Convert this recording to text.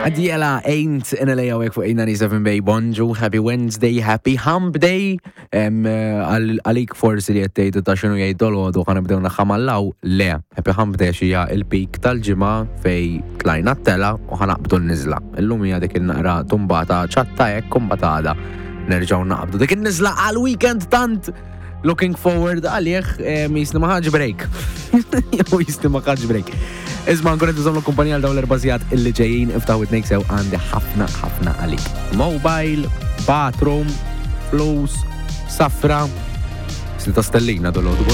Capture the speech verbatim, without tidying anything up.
Adjela Ain't in L A għawek fuq eight ninety-seven Bay. Bonġu, happy Wednesday, happy hump day. Em, għal- Għalik forsi li għettejtu ta' xinu jgħid dolodu ħa nibdew naħamallaw. Le, happy hump day xija il-peak tal-ġimgħa fej tlajna t-tela u ħa naqbdu n-nizla. Illum hija dik il-naqra tumbata ċatta hekk kumbatada. Nerġgħu naqbdu dik il-nizla għal-weekend tant looking forward għalih, jisni ma ħaġ break. Jew jisni ma ħaġ break. Isma' nkun qed iżommu kumpanija għal dawn l-erba' sigħat illi ġejjin. Iftaħ widnejk sew, għandi ħafna ħafna għalik. Mobile, bathroom, flus, safra. Sni ta' stellina dolodu.